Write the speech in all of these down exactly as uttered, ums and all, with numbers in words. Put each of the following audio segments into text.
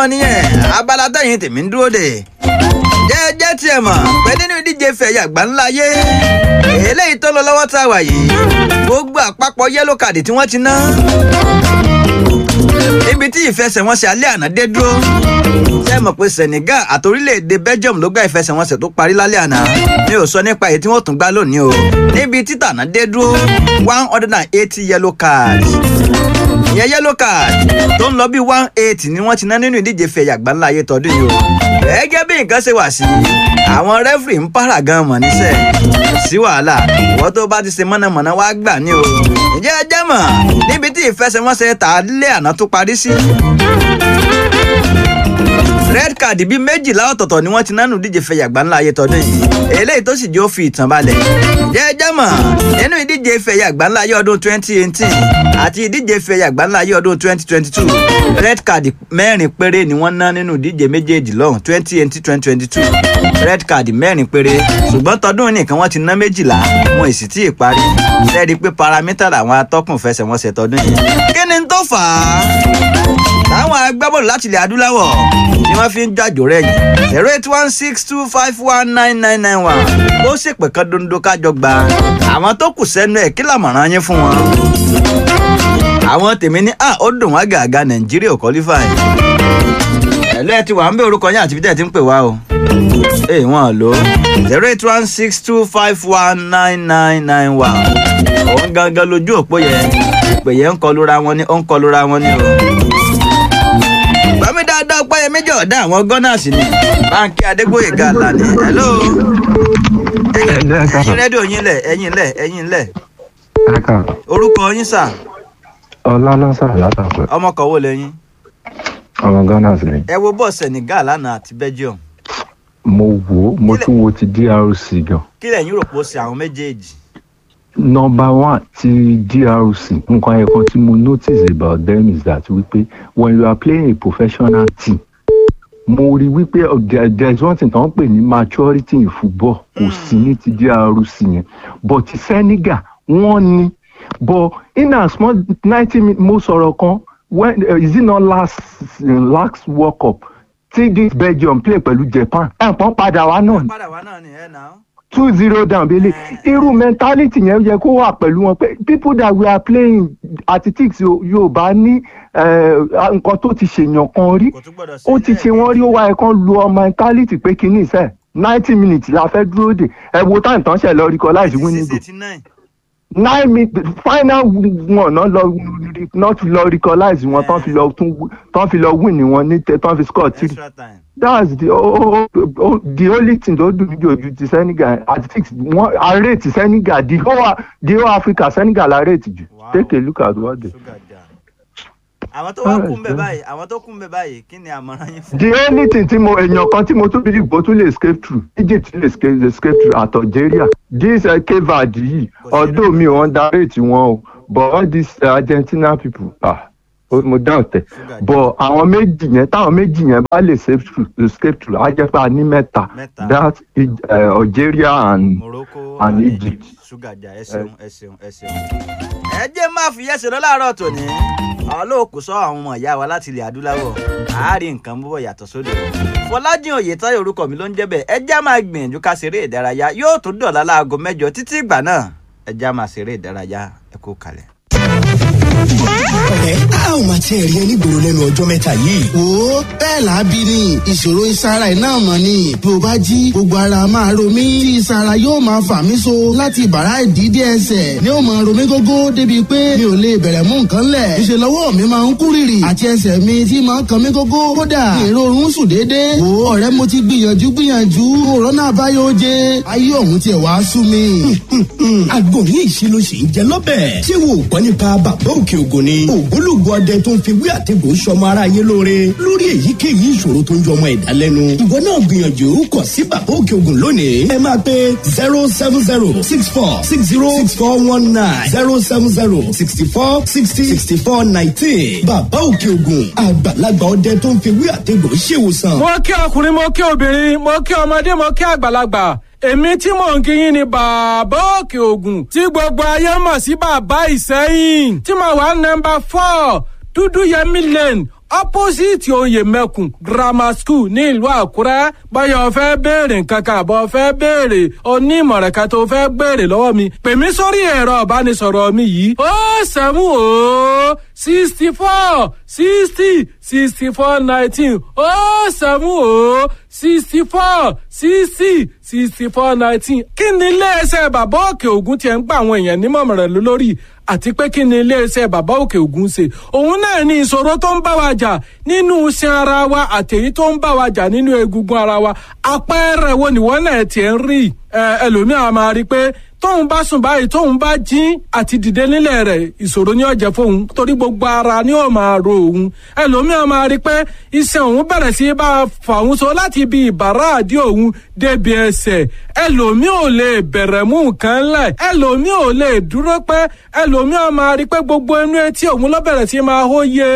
mọ̀ nìyẹn, abala tẹ̀yìn tèmi ń dúró dè. Jẹ́jẹ́ tiẹ̀ mọ̀ pé nínú ìdíje fẹ̀yà àgbáńlá ayé eléyìí tó lọ lọ́wọ́ tá a wà yìí, gbogbo àpapọ̀ yẹ́lò kàdì tí wọ́n ti ná níbi tí ìfẹsẹ̀wọnsẹ̀ alẹ́ àná dé dúró. Ṣé mọ̀ pé Senegal àti orílẹ̀-èdè Belgium ló gbá ìfẹsẹ̀wọnsẹ̀ tó parí lálẹ́ àná? Mi ò sọ nípa èyí tí wọ́n tún gbá lónìí o. Níbi títànà dé dúró, one hundred and eighty yellow cards, ìyẹn yellow card tó ń lọ bí one eighty ni wọ́n ti ná nínú ìdíje fẹ̀yà àgbáńlá ayé tọdún yìí o. Gẹ́gẹ́ bí nǹkan ṣe wà sí, àwọn rẹ́fìrì ń pààrà gan mọ̀ níṣẹ́, kò sí wàhálà, ìwọ́n tó bá ti ṣe mọ̀nàmọ́ná wá gbà ní o. Ǹjẹ́ ẹ jẹ́ mọ̀ níbi tí ìfẹsẹ̀wọnsẹ̀ tà á lé àná tó parí sí, red card bíi méjìlá ọ̀tọ̀ọ̀tọ̀ ni wọ́n ti nánú díje fẹ̀yà àgbáńlá ayé tọdún yìí, eléyìí tó sì jẹ́ ó fi ìtàn balẹ̀. Jẹ́jẹ́ mọ̀ nínú ìdíje fẹ̀yà àgbáńlá ayé ọdún twenty eighteen àti ìdíje fẹ̀yà àgbáńlá ayé ọdún twenty twenty two, red card mẹ́rin péré ni wọ́n ná nínú ìdíje méjèèjì lọ́hùn, twenty eighteen, twenty twenty two, red card mẹ́rin péré. Ṣùgbọ́n tọdún nìkan wọ́n ti ná méjìlá, wọn ì sì tí ì parí. Lẹ́ẹ̀rí pé paramítà làwọn atọ́kùn fẹsẹ̀wọnsẹ̀ tọdún yìí. Kí ni tó fà á táwọn agbábọ́ọ̀lù láti ilẹ̀ adúláwọ̀ tí wọ́n fi ń jàjò rẹ̀ yìí? Zero eight one six two five one nine nine nine one. Ó ṣèpè kan dondo kájọ gba àwọn tó kù sẹ́nu ẹ̀, kí làmọ̀ràn yín fún wọn? Àwọn tèmi ní à ó dùn wá gàgà, Nàìjíríà ò qualify. Ẹ̀lú ẹ ti wà ń bẹ, orúkọ yín àti bí tẹ́ ẹ ti ń pè wá o. Ee, wọn lò ó, zero eight one six two five one nine nine nine one, òun gangan lójú òpó yẹn. Ìpè yẹn ń kọlura wọn ní, ó ń kọlura wọn ní o. Bámi dáadáa, Ọpẹ́yẹmí Jọ̀ọ́dá, àwọn Gunners ni Báńkì Adégbòyèga Àlàní. Hello. Ẹ̀yin rédíò yín lẹ̀, ẹ̀yin lẹ̀, ẹ̀yin lẹ̀. Orúkọ yín sà? Ọlá ló ń sọ̀rọ̀ látàkùn. Ọmọkọ̀ wo lẹ́yìn? Ọmọ Gunners ni. Ẹ wo bọ́ọ̀ Senegal lánàá àti Belgium. Mo wò ó, mo tún wo ti D R C gan. Kí lẹ̀yin rò pé ó ṣe àwọn méjèèjì? Number one, ti D R C, nǹkan ẹ̀kan tí mo notice about them is that wípé when you are playing a professional team, mo rí wípé there there is one thing tó ń pè ní maturity in football, kò sí ní ti D R C yẹn. But ti Senegal, wọ́n ní, but in as much ninety minutes, mo sọ̀rọ̀ kan when uh, is it not last last World Cup tí this Belgium play pẹ̀lú Japan, ẹ̀pọ̀n padà wá náà ni. Padà wá náà ni ẹ̀ náà. Two zero down bele, irú mentality yẹn yẹ kó wà pẹ̀lú wọn pé people that we are playing athletics, Yorùbá ní nǹkan tó ti ṣèyàn kan rí, Kò tún gbọ́dọ̀ ó ti ṣe wọ́n rí, ó wá ẹ̀kan lu ọ mentality pé kíní sẹ́ ninety minutes la fẹ́ dúró dè. Ẹ wo time tán ṣe lọ realize winning goal. Eighty nine. Nine minutes, final one náà lọ not lọ realize wọn tán fi lọ tún tán fi lọ win ni wọn ní tán fi score three. Extra time. That's the oh, oh, oh, the only thing tó dùn mí jù ojú ti Senegal athletics wọn arate Senegal, the whole the whole Africa, Senegal arate jù. Wow. Take a look at what they. Sugar down. Àwọn tó wá kún bẹ báyìí, àwọn tó kún bẹ báyìí, kí ni àmọ̀ràn yín fún? The only thing tí mo èèyàn kan tí mo tún believe bó tún lè escape through, Egypt lè escape escape through àti Algeria. This uh, Cape Verde yìí, although mi ò underrate wọn o, but all these uh, Argentina people, ah, mo doubt ẹ. But àwọn méjì yẹn, táwọn méjì yẹn bá lè escape through escape through á jẹ́ pé a ní mẹ́ta. Mẹ́ta. That uh, Algeria and Morocco and and Egypt. Egypt. Sugar jà, ẹ ṣeun, ẹ ṣeun, ẹ ṣeun. Ẹ jẹ́ máa fi yẹ́sẹ̀ lọ láàárọ̀ tòní. Àwọn olóòkú sọ àwọn ọmọ ìyá wa láti ilẹ̀ adúláwọ̀ àárín nǹkan búbọ̀ yàtọ̀ sódò. Fọlájìn Oyètáyọ̀ orúkọ mi ló ń jẹ́ bẹ́ẹ̀. Ẹ jẹ́ á máa gbìyànjú ká ṣeré ìdárayá, yóò tún dọ̀la láago mẹ́jọ. Títí ìgbà náà, ẹ jẹ́ á máa ṣeré ìdárayá. Ẹ kú kalẹ̀. Ọ̀rẹ́, a ò máa tiẹ̀ rí ẹ nígboro lẹ́nu ọjọ́ mẹ́ta yìí. Wo, bẹ́ẹ̀ làábí ni ìṣòro ìsara iná mọ̀ ni. Bí o bá jí, gbogbo ara máa ro mí tí ìsara yóò máa fà mí so láti bàrá ìdídé ẹsẹ̀ ni ó máa ro mí gógó, débi pé mi ò lè bẹ̀rẹ̀ mú nǹkan lẹ̀. Ìṣe lọ́wọ́ mi máa ń kú rìrì àti ẹsẹ̀ mi tí máa ń kan mí gógó. Kódà ìrorun sùn déédéé. Wo ọ̀rẹ́, mo ti gbìyànjú gbìyànjú, òrọ́nà àbáyọ oje, ayé òun tiẹ̀ wá sú mi. Àgbo ní ìṣirò sì ń jẹ lọ́bẹ̀. Ṣé wo ò gbọ́ nípa Bàbá Òkè Ògùn ni? Ògbólógbò ọdẹ tó ń fi wí àtẹ̀gùn sọmọ aráyé lóore lórí èyíkéyìí ìṣòro tó ń jọmọ ẹ̀dá lẹ́nu. Ìwọ náà gbìyànjú kọ̀ sí Bàbá Òkè Ògùn lónìí. Ẹ máa pe zero seven zero six four six zero six four one nine, zero seven zero sixty four sixty sixty four nineteen. Bàbá Òkè Ògùn, àgbàlagbà ọdẹ tó ń fi wí àtẹ̀gùn ṣèwòsàn. Mo kí ọkùnrin, mo kí obìnrin, mo kí ọmọdé, mo kí àgbàlagbà. Èmi tí mò ń kí yín ni Bàbá Òkè Ògùn, tí gbogbo ayé mọ̀ sí Bàbá Ìsẹ́yìn, tí mo wà nọ́mbà four, Dúdú Yẹmí Lane, Opposite oyè mẹ́kùn Grammar School ní ìlú Àkúrẹ́. Báyọ̀ fẹ́ béèrè nǹkan kan àbọ̀ fẹ́ béèrè onímọ̀ràn kan tó fẹ́ béèrè lọ́wọ́ mi, pè mí sórí ẹ̀rọ ìbánisọ̀rọ̀ mi yìí: ó seven ó sixty four sixty sixty four nineteen, ó seven ó sixty four sixty sixty four nineteen. Kí ni iléeṣẹ́ Bàbá Òkè Ògùn tiẹ̀ ń gba àwọn èèyàn nímọ̀ràn lórí, àti pé kí ni iléeṣẹ́ Bàbá Òkè Ògùn ṣe? Òun náà ní ìṣòro tó ń bá wa jà nínú iṣan ara wa àtèyí tó ń bá wa jà nínú egungun ara wa. Àpẹẹrẹ wo nìwọ náà tiẹ̀ ń rí? Ẹlòmíà máa rí i pé tóun bá sùn báyìí, tóun bá jí, àti dìde nílẹ̀ rẹ̀, ìṣòro ni ó jẹ́ fóun, torí gbogbo ara ni ó máa ro òun. Ẹlòmíà máa rí i pé iṣan òun bẹ̀rẹ̀ sí bá a fà òun so láti ibi ìbàrá àdí òun débi ẹsẹ̀. Ẹlòmíà ò lè bẹ̀rẹ̀ mú nǹkan lẹ̀, ẹlòmíà ò lè dúró pẹ́. Ẹlòmíà máa rí i pé gbogbo inú etí òun ló bẹ̀rẹ̀ sí máa hó yé.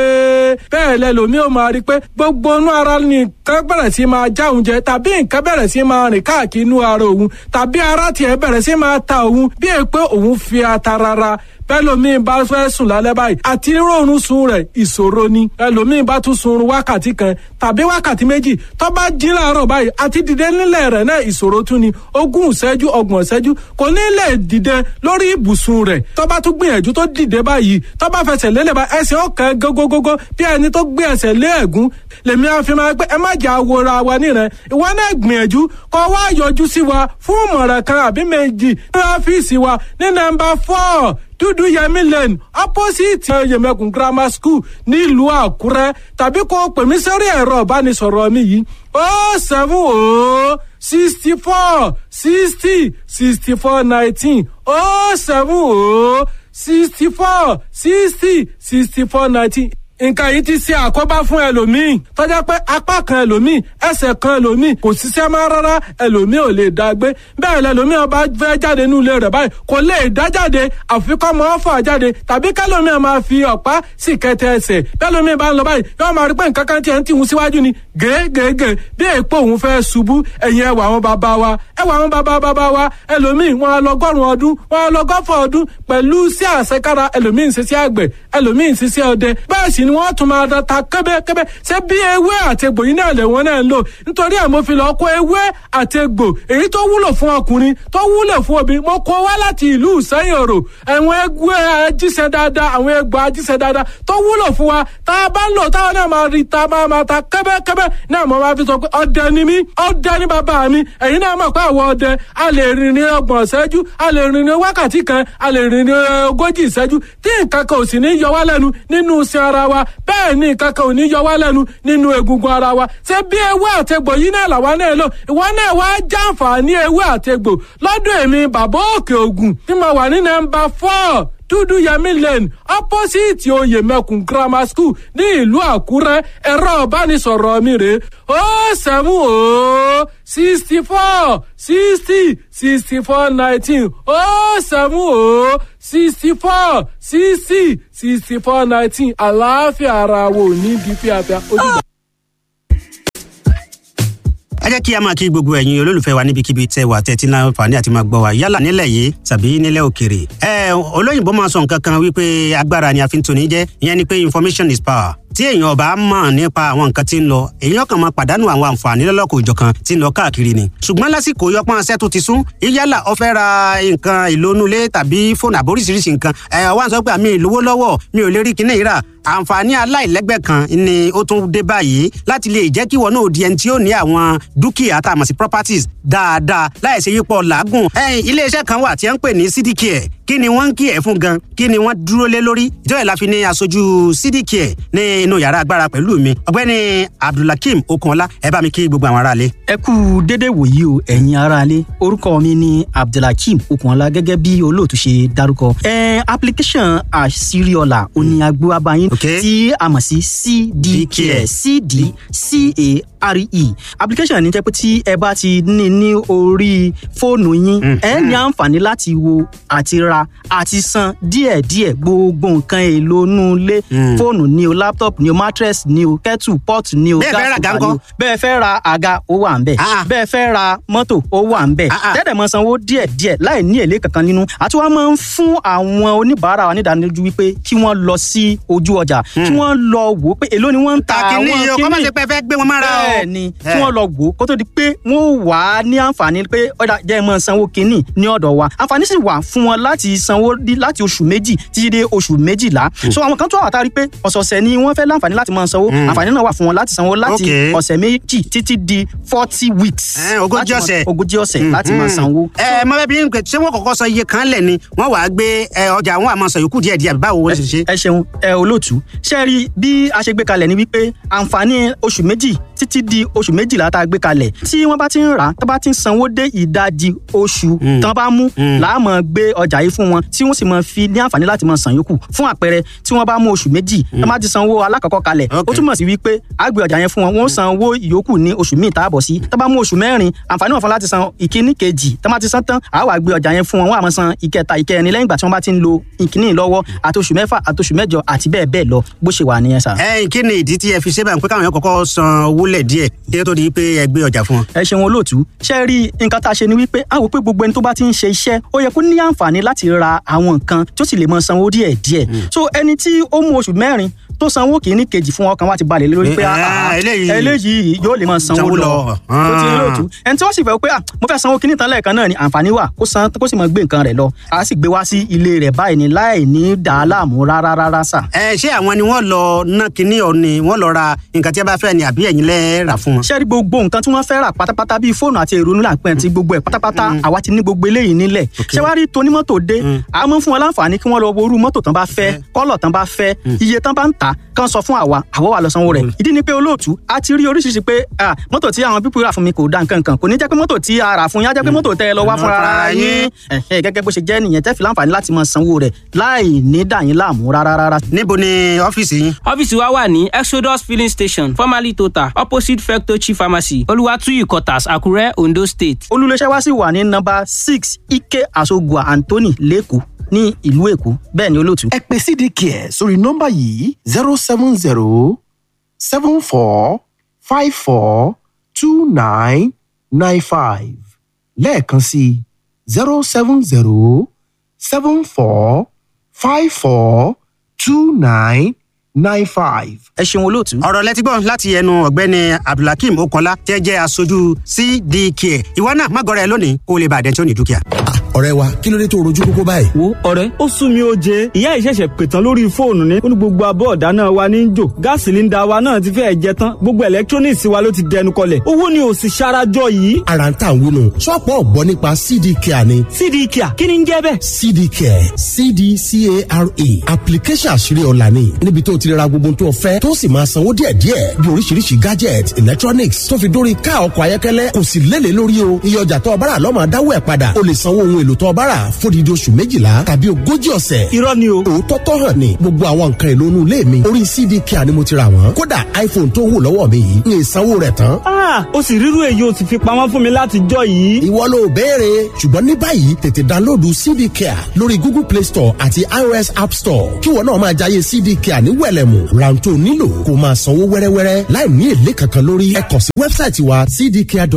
Bẹ́ẹ̀ lẹlòmíà máa rí i pé gbogbo inú ara nìkan bẹ̀rẹ̀ sí máa já òun jẹ, tàbí nǹkan bẹ̀rẹ̀ sí máa rìn káàkiri inú ara òun, tàbí ara tiẹ̀ bẹ̀rẹ̀ sí máa ta òun bí è pé òun fi ata rárá. Bẹ́lòmíì bá fẹ́ sùn lálẹ́ báyìí, àti rọrùn sun rẹ̀ ìṣòro ni. Ẹlòmíì bá tún sun wákàtí kan tàbí wákàtí méjì, tó bá jí láàárọ̀ báyìí, àti dìde nílẹ̀ rẹ̀ náà ìṣòro tún ni. Ogún ìṣẹ́jú, ọgbọ̀n ìṣẹ́jú, kò ní lè dìde lórí ibùsùn rẹ̀. Tó bá tún gbìyànjú tó dìde báyìí, tó bá fẹsẹ̀ lélẹ̀ bá, ẹsẹ̀ ọ̀kan gógógógó bí ẹni tó gbé ẹsẹ̀ lé ẹ̀gún. Lèmi á fi máa pé ẹ má jà wora wa níran. Ìwọ náà gbìyànjú kó wá yọjú sí wa fún ìmọ̀ràn kan àbí méjì ní ọ́fíìsì wa ní nọ́mbà four, Dúdú Yẹmí Lane, opposite Yẹmẹkùn Grammar School nílùú Àkúrẹ́, tàbí kó pè mí sórí ẹ̀rọ ìbánisọ̀rọ̀ mi yìí: ó seven ó sixty four sixty sixty four nineteen, ó seven ó sixty four sixty sixty four nineteen. Nǹkan yìí ti ṣe àkóbá fún ẹlòmíì tọ́jà pé apá kan ẹlòmíì, ẹsẹ̀ kan ẹlòmíì kò ṣiṣẹ́ mọ́ rárá, ẹlòmíì ò lè dá gbé bẹ́ẹ̀. Lẹlòmíì ọba fẹ́ jáde nínú ilé rẹ̀ báyìí, kò lè dá jáde, àfi kọ́ mọ́ ọ́fà jáde, tàbí kẹlòmíì máa fi ọ̀pá sì kẹtẹ ẹsẹ̀. Bẹ́ẹ̀lòmíì bá ń lọ báyìí, yóò máa rí pé nǹkan kan tiẹ̀ ń tìhun síwájú ni gègègè, bí èèpo òun fẹ́ ṣubú. Ẹ̀yìn ẹwà àwọn bàbá wa, ẹwà àwọn bàbá bàbá wa, ẹlòmíì wọn á lọgọ́rùn ọdún, wọn á lọgọ́fọ̀ ọdún pẹ̀lú sí àṣekára. Ẹlòmíì ń ṣiṣẹ́ àgbẹ̀, ẹlòmíì ń ṣiṣẹ́ ọdẹ, bẹ́ẹ̀ sì ni wọ́n tún máa da ta kẹ́bẹ́kẹ́bẹ́. Ṣé bí ewé àti egbò yìí náà lè wọ́n náà ń lò? Nítorí ẹ̀ mo fi lọ kó ewé àti egbò èyí tó wúlò fún ọkùnrin, tó wúlò fún obìnrin, mo kó wá láti ìlú Ìsẹ́yìn Òrò. Àwọn egbò ajíṣẹ́ dáadáa, àwọn egbò ajíṣẹ́ dáadáa tó wúlò fún wa, tá a bá ń lò táwọn náà máa rí ta máa máa ta kẹ́bẹ́kẹ́bẹ́ náà. Mo máa fi sọ pé ọdẹ ni mí, ọdẹ ni bàbá mi. Ẹ̀yin náà mọ̀ pé àwọn ọdẹ a lè rìn ní ọgbọ̀n ìṣẹ́jú, a lè rìn ní wákàtí kan, a lè rìn ní ogójì ìṣẹ́jú, tí nǹkan kan ò sì ní yọ wá lẹ́nu nínú iṣan ara wa. Bẹ́ẹ̀ ni nǹkan kan ò ní yọ wá lẹ́nu nínú egungun ara wa. Ṣé bí ewé àtegbò yìí náà làwa náà lò? Ìwọ náà wá jàǹfààní ewé àtegbò lọ́dọ̀ èmi Bàbá Òkè Ògùn tí mo wà ní nọ́mbà four, Dúdú Yẹmí Lane, opposite oyè mẹ́kùn Grammar School ní ìlú Àkúrẹ́. Ẹ̀rọ ìbánisọ̀rọ̀ mi rè: ó seven ó sixty four sixty sixty four nineteen, ó seven ó sixty four sixty sixty four nineteen. Àlàáfíà ara wo ní bí fíafíà ó dìgbà. Ẹ jẹ́ kí a máa kí gbogbo ẹ̀yin olólùfẹ́ wa níbikíbi tẹ́ wà, tẹ́tí náà fàní àti máa gbọ́ wa, yálà nílẹ̀ yìí tàbí nílẹ̀ òkèrè. Ẹ olóyìnbó máa sọ nǹkan kan wípé agbára ni a fi ń toni jẹ́, ìyẹn ni pé information is power. Tí èèyàn ọba mọ̀ nípa àwọn nǹkan tí ń lọ, èèyàn kan máa pàdánù àwọn àǹfààní lọ́lọ́kọ̀ òjọ̀kan tí ń lọ káàkiri ni. Ṣùgbọ́n lásìkò yọpọ́n ṣẹ́ tó ti sún, yálà ó fẹ́ ra nǹkan ìlónúlé tàbí fóònù àbóríṣiríṣi nǹkan, ẹ̀ wá ń sọ pé àmì ìlówó lọ́wọ́, mi ò lè rí kinní ìrà. Àǹfààní aláìlẹ́gbẹ́ kan ni ó tún dé báyìí láti lè jẹ́ kí wọn náà di ẹni tí ó ní àwọn dúkìá tá a mọ̀ sí properties dáadáa, láì ṣe yípo làágùn. Iléeṣẹ́ kan wà tí wọ́n ń pè ní C D Care. Kí ni wọ́n ń kí ẹ̀ fún gan? Kí ni wọ́n dúró lé lórí? Ìjọba ìlà fi ní aṣojú C D Care ní inú yàrá agbára pẹ̀lú mi, ọ̀gbẹ́ni Abdulhakeem Okunọlá. Ẹ bá mi kí gbogbo àwọn aráalé. Ẹ kú dédé wòyí o, ẹ̀yin aráalé. Orúkọ mi ni Abdulhakeem Okunọlá, gẹ́gẹ́ bí olóòtú ṣe dárúkọ. Ẹ application àṣírí ọ̀la òní agbó abayín Okay. tí a mọ̀ sí C D Care, C D C A A R E. Application ní jẹ́ pé tí ẹ bá ti ní ní orí fóònù yín, ẹ ní àǹfààní láti wo àti ra àti san díẹ̀díẹ̀ gbogbo nǹkan èlò inú ilé, fóònù ni o, laptop ni o, mattress ni o, kettle pot ni o, Bẹ́ẹ̀ fẹ́ ra gas àga cooker ni o. ńkọ́? Bẹ́ẹ̀ fẹ́ ra àga, ó wà ń bẹ̀. Ah. Bẹ́ẹ̀ fẹ́ ra mọ́tò, ó wà ń bẹ̀. Ah, ah. Tẹ́lẹ̀ mọ sanwó díẹ̀díẹ̀ láì ní èlé kankan nínú. Àti wọ́n máa ń fún àwọn oníbàárà wa nídánilójú wípé kí wọ́n lọ sí ojú ọjà, kí wọ́n lọ wò ó pé èló ni wọ́n ń ta kàkínní àwọn yìí o, kọ́ má ṣe pé ẹ fẹ́ gbé wọn mára o. Bẹ́ẹ̀ ni, Eh. kí wọ́n lọ wò ó kó tó di pé wọ́n wà á ní àǹfààní pé ọ̀dà jẹ́ ẹ máa sanwó kínní ní ọ̀dọ̀ wa. Àǹfààní sì wà fún wọn láti sanwó dí- láti oṣù méjì títí dé oṣù méjìlá. So àwọn kan tó wà tá a rí pé ọ̀sọ̀ọ̀sẹ̀ ni wọ́n fẹ́ láǹfààní láti máa sanwó, àǹfààní náà wà fún wọn láti sanwó láti Okay. ọ̀sẹ̀ méjì títí di forty weeks. Eh, ogójì Láti máa- ọ̀sẹ̀. Ogójì ọ̀sẹ̀ láti máa sanwó. Ẹ mọ bẹẹ bí n pè, ṣé wọn kọ́kọ́ sọ iye kan lẹ ni wọn wàá gbé ẹ, ọjà àwọn àmọ sọ yòókù díẹ̀ díẹ̀, àbí báwo wọn ṣe ṣe. Ẹ ṣeun ẹ olóòtú. Ṣe rí bí a ṣe gbé kalẹ̀ ni wípé àǹfààní oṣù méjì títí di oṣù méjìlá tá a gbé kalẹ̀, tí wọ́n bá ti ń rà á, tó bá ti ń sanwó dé ìdajì oṣù tán bá mú, làá máa gbé ọjà yìí fún wọn, tí wọ́n sì máa fi ní àǹfààní láti máa san yòókù. Fún àpẹẹrẹ, tí wọ́n bá mú oṣù méjì, tán bá ti sanwó alákọ̀ọ́kọ́ kalẹ̀, ó Okay. túmọ̀ sí wípé a gbé ọjà yẹn fún wọn, wọ́n san owó ìyókù ní oṣù míì tá a bọ̀ sí. Tán bá mú oṣù mẹ́rin, àǹfààní wọn fún láti san ìkíní kejì. Tán bá ti san tán, àá wá gbé ọjà yẹn fún wọn, wọ́n á máa san ìkẹta, ìkẹrin lẹ́yìn ìgbà tí wọ́n bá ti ń lo ìkíní lọ́wọ́, àti oṣù mẹ́fà, àti oṣù mẹ́jọ, àti bẹ́ẹ̀ bẹ́ẹ̀ lọ. Bó ṣe wà nìyẹn sà. Ẹ kí ni ìdí tí ẹ fi ṣe báyìí pé káwọn yẹn kọ́kọ́ san owó lẹ̀ díẹ̀ kí ó tó di pé ẹ gbé ọjà fún wọn? Ẹ ṣeun olóòtú. Ṣe rí nǹkan tá a ṣe ni wípé a wò pé gbogbo ẹni tó bá ti ń ṣe iṣẹ́, ó yẹ kó ní àǹfààní láti ra àwọn nǹkan tó sì lè mọ sanwó díẹ̀ díẹ̀. So ẹni tí ó mú oṣù mẹ́rin tó sanwó kìíní kejì fún, ọkàn wa ti balẹ̀ lórí pé Eh, ah, ah, eléyìí- eléyìí yóò lè mọ sanwó sanwó lọ. lọ. Tó ti rí olóòtú, ẹni tí wọ́n sì fẹ́ pé ah, mo fẹ́ sanwó kìíní tán lẹ́ẹ̀kan náà ni, àǹfààní wà kó san, kó sì mọ gbé nǹkan rẹ̀ lọ. A sì gbé wá sí ilé rẹ̀ báyìí ni láì ní dàá láàmú rárá rárá sà. Ẹ ṣé àwọn ni wọn lọ ná kinní ọ ni wọn lọ ra nǹkan tí a bá fẹ́ ni, àbí ẹ̀yin lẹ rà fún wọn? Ṣé rí gbogbo nǹkan tí wọ́n fẹ́ rà pátápátá, bíi fóònù àti èrò nílà pẹ́ ti gbogbo ẹ̀ pátápátá, àwa ti ní gbogbo eléyìí nílẹ̀. Ṣé wàá rí tonímọ́tò dé, a máa ń fún wọn láǹfààní kí wọ́n lọ wo irú mọ́tò tán bá fẹ́, kọ́lọ̀ tán bá fẹ́, iye tán bá ń tà, kán sọ fún àwa, àwa wà lọ sanwó rẹ̀. Ìdí ni pé olóòtú, a ti rí oríṣiríṣi pé ah, mọ́tò tí àwọn pípọ̀ rà fún mi kò da nǹkan kan. Kò ní jẹ́ pé mọ́tò tí a rà fún yín á jẹ́ pé mọ́tò tẹ́ ẹ lọ wá fúnra ara yín. Ẹ̀hẹ́, gẹ́gẹ́ bó ṣe jẹ́ nìyẹn, tẹ́ fi láǹfààní láti máa sanwó rẹ̀ láì ní dà yín láàmú rárá rárá. Níbo ni ọ́fíìsì yín? Ọ́fíìsì wa wà ní Exodus Filling Station, formerly Total, opposite Fectochi Pharmacy, Olúwàtúyì Quarters, Àkúrẹ́, Ondo State. Olùléṣẹ́ wa sì wà ní nọ́mbà six Ike Asogua Anthony lẹ́kọ̀ọ́ ní ìlú Èkó. Bẹ́ẹ̀ ni olóòtú. Ẹ pè C D Care sórí nọ́mbà yìí: zero seven zero seven four five four two nine nine five. Lẹ́ẹ̀kan sí: zero seven zero seven four five four two nine nine five. Ẹ ṣeun olóòtú. Ọ̀rọ̀ lẹ́tí gbọ́ láti ẹnu ọ̀gbẹ́ni Abdulhakeem Okola tẹ́ jẹ́ aṣojú C D K. Ìwọ náà má gọra ẹ lónìí kó o lè bàdẹ́ tí ó ní dúkìá. Ọ̀rẹ́ wa, kí ló dé tó rojú kókó báyìí? Wo ọ̀rẹ́, ó sún mi ó jẹ. Ìyá ìṣẹ̀ṣẹ̀ pètàn lórí fóònù ni ó ní gbogbo abọ́ ọ̀dá náà wa ní í jò, gáàsì líńdà wa náà ti fẹ́ẹ̀ jẹ tán, gbogbo electronics wa ló ti dẹnu kọlẹ̀, owó ni ò sì ṣarajọ yìí. Ara ń tà ń wúnu, ṣọ́ọ̀pù ọ̀gbọ́n nípa C D Care ni. C D Care, kí ni ń jẹ́ bẹ́ẹ̀? C D Care, C D C A R E, application àṣírí ọ̀la ni, níbi tó ti ra gbogbo tó fẹ́, tó sì máa sanwó díẹ̀díẹ̀, bí oríṣiríṣi gadget, electronics, tó fi dórí ká ọkọ̀ ayọ́kẹ́lẹ́. Kò sì lélẹ̀ lórí o. Iye ọjà tó ọbára lọ́mọ dáwọ́ ẹ̀ padà. O lè sanwó ohun èlò tó ọbára fódìdí oṣù méjìlá tàbí ogójì ọ̀sẹ̀. Irọ́ ni o. Òótọ́ tó hàn ní, gbogbo àwọn nǹkan èlò inú ilé mi, orí C D Care ni mo ti rà wọ́n. Kódà iPhone tó wù lọ́wọ́ mi yìí, ní ìsanwó rẹ̀ tán. Ah, ó sì rírú èyí ó sì fi pamọ́ fún mi láti jọ yìí. Ìwọ ló béèrè, ṣùgbọ́n ní báyìí tètè dánlóòdù C D Care lórí Google Play Store àti iOS App Store, kí wọn náà máa jayé C D Care ní wẹ̀lẹ̀mù. Rántó nílò kó máa sanwó wẹ́rẹ́wẹ́rẹ́ láì ní èlé kankan lórí. Ẹ kàn sí wẹ́bsáìtì wa, cdcare dot